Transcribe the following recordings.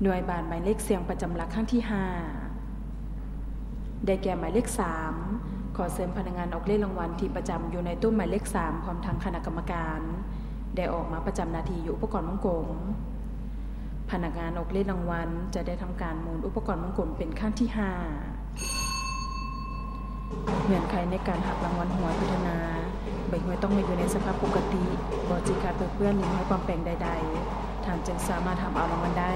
ໜ່ວຍບານໝາຍເລກສ່ຽງປະຈຳຫຼັກຄັ້ງທີຫ້າ ໄດ້ແກ່ໝາຍເລກສາມ. ຂໍເຊີນພະນັກງານອອກເລກລາງວັນທີ່ປະຈຳຢູ່ໃນໂຕະໝາຍເລກສາມ ພ້ອມທັງຄະນະກຳມະການ ໄດ້ອອກມາປະຈຳໜ້າທີ່ຢູ່ອຸປະກອນວົງກົມ. ພະນັກງານອອກເລກລາງວັນຈະໄດ້ທຳການໝູນອຸປະກອນວົງກົມເປັນຄັ້ງທີຫ້າ. ເງື່ອນໄຂໃນການຮັບລາງວັນຫວຍພັດທະນາ ໃບຫວຍຕ້ອງມາຢູ່ໃນສະພາບປົກກະຕິ, ບໍ່ຈີກຂາດເປິເປື້ອນ ຫຼື ມີຮອຍປອມແປງໃດໆ, ທ່ານຈຶ່ງສາມາດຮັບເອົາລາງວັນໄດ້.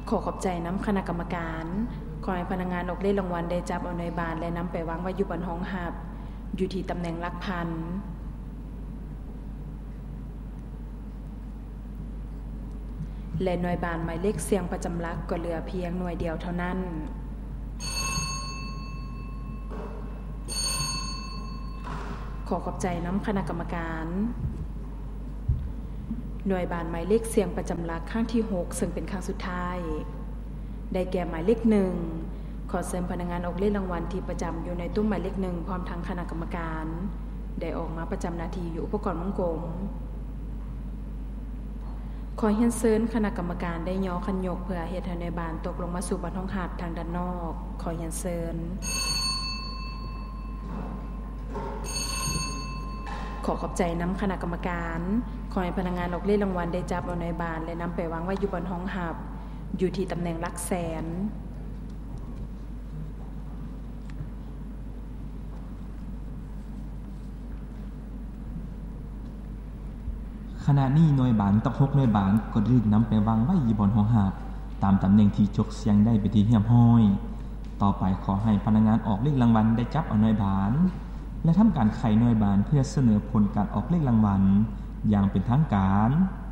ຂໍຂອບໃຈນຳຄະນະກຳມະການ. ຂໍໃຫ້ພະນັກງານອອກເລກລາງວັນໄດ້ຈັບເອົາໜ່ວຍບານ ແລະ ນຳໄປວາງໄວ້ຢູ່ບ່ອນຮອງຮັບ ຢູ່ທີ່ຕຳແໜ່ງຫຼັກພັນ ແລະ ໜ່ວຍບານໝາຍເລກສ່ຽງປະຈຳຫຼັກກໍເຫຼືອພຽງໜ່ວຍດຽວເທົ່ານັ້ນ. ຂໍຂອບໃຈນຳຄະນະກຳມະການ. ໜ່ວຍບານໝາຍເລກສ່ຽງປະຈຳຫຼັກຄັ້ງທີຫົກ ເຊິ່ງເປັນຄັ້ງສຸດທ້າຍ ໄດ້ແກ່ໝາຍເລກໜຶ່ງ. ຂໍເຊີນພະນັກງານອອກເລກລາງວັນທີ່ປະຈຳຢູ່ໃນໂຕະໝາຍເລກໜຶ່ງ ພ້ອມທັງຄະນະກຳມະການ ໄດ້ອອກມາປະຈຳໜ້າທີ່ຢູ່ອຸປະກອນວົງກົມ. ຂໍຮຽນເຊີນຄະນະກຳມະການໄດ້ຍໍຄັນຍົກເພື່ອເຮັດໃຫ້ໜ່ວຍບານຕົກລົງມາສູ່ບ່ອນຮອງຮັບທາງດ້ານນອກ. ຂໍຮຽນເຊີນ. ຂໍຂອບໃຈນຳຄະນະກຳມະການ. ຂໍໃຫ້ພະນັກງານອອກເລກລາງວັນໄດ້ຈັບເອົາໜ່ວຍບານ ແລະ ນຳໄປວາງໄວ້ຢູ່ບ່ອນຮອງຮັບ ຢູ່ທີ່ຕຳແໜ່ງຫຼັກແສນ. ຂະນະນີ້ໜ່ວຍບານຕອກຫົກໜ່ວຍບານກໍໄດ້ຖືກນຳໄປວາງໄວ້ຢູ່ບ່ອນຮອງຮັບ ຕາມຕຳແໜ່ງທີ່ຈົກສ່ຽງໄດ້ເປັນທີ່ຮຽບຮ້ອຍ. ຕໍ່ໄປຂໍໃຫ້ພະນັກງານອອກເລກລາງວັນໄດ້ຈັບເອົາໜ່ວຍບານ ແລະ ທຳການໄຂໜ່ວຍບານເພື່ອສະເໜີຜົນການອອກເລກລາງວັນຢ່າງເປັນທາງການ.